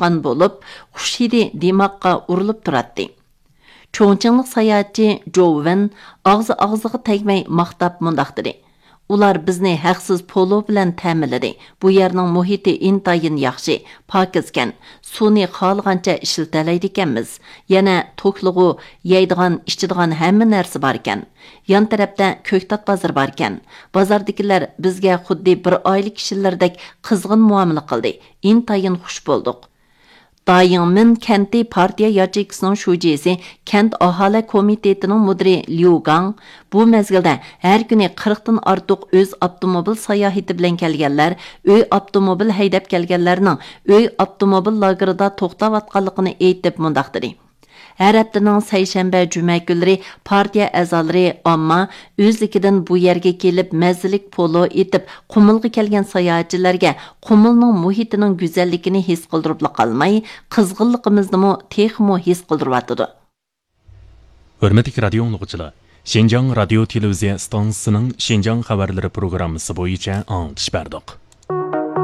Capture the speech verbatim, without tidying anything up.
چىققان بولۇپ، خۇش ھىدى دىماغقا ئۇرۇلۇپ تۇراتتى. چۇڭچىڭلىق ساياھەتچى جوۋ ۋېن ئاغزى ئاغزىغا تەگمەي ماختاپ مۇنداق دېدى: «ئۇلار بىزنى ھەقسىز پولۇ بىلەن تەمىنلىدى. بۇ يەرنىڭ مۇھىتى ئىنتايىن ياخشى، پاكىزكەن. سۇنى خالىغانچە ئىشلىتەلەيدىكەنمىز. يەنە توكلىغۇ، يەيدىغان، ئىچىدىغان ھەممە نەرسە باركەن. يان تەرەپتە كۆكتات بازىرى باركەن. بازاردىكىلەر بىزگە خۇددى بىر ئائىلە كىشىلىرىدەك قىزغىن مۇئامىلە قىلدى. ئىنتايىن خۇش بولدۇق.» دايىڭمىن كەنتى پارتىيە ياچېيكىسىنىڭ شۇجىسى، كەنت ئاھالە كومىتېتىنىڭ مۇدىرى ليۇ گاڭ بۇ مەزگىلدە ھەر كۈنى قىرىقتىن ئارتۇق ئۆز ئاپتوموبىل ساياھىتى بىلەن كەلگەنلەر، ئۆي ئاپتوموبىل ھەيدەپ كەلگەنلەرنىڭ ئۆي ئاپتوموبىل لاگېرىدا توختاۋاتقانلىقىنى ئېيتىپ مۇنداق دېدى: «ھەر ھەپتىنىڭ سەيشەنبە، جۈمە كۈنلىرى پارتىيە ئەزالىرى، ئامما ئۆزلۈكىدىن بۇ يەرگە كېلىپ مەززىلىك پولۇ ئېتىپ، قۇمۇلغا كەلگەن ساياھەتچىلەرگە قۇمۇلنىڭ مۇھىتىنىڭ گۈزەللىكىنى ھېس قىلدۇرۇپلا قالماي، قىزغىنلىقىمىزنىمۇ تېخىمۇ ھېس قىلدۇرۇۋاتىدۇ.» ھۆرمەتلىك رادىيو ئاڭلىغۇچىلار، شىنجاڭ رادىيو تېلېۋىزىيە ئىستانسىسىنىڭ شىنجاڭ خەۋەرلىرى پروگراممىسى بويىچە ئاڭلىتىش بەردۇق.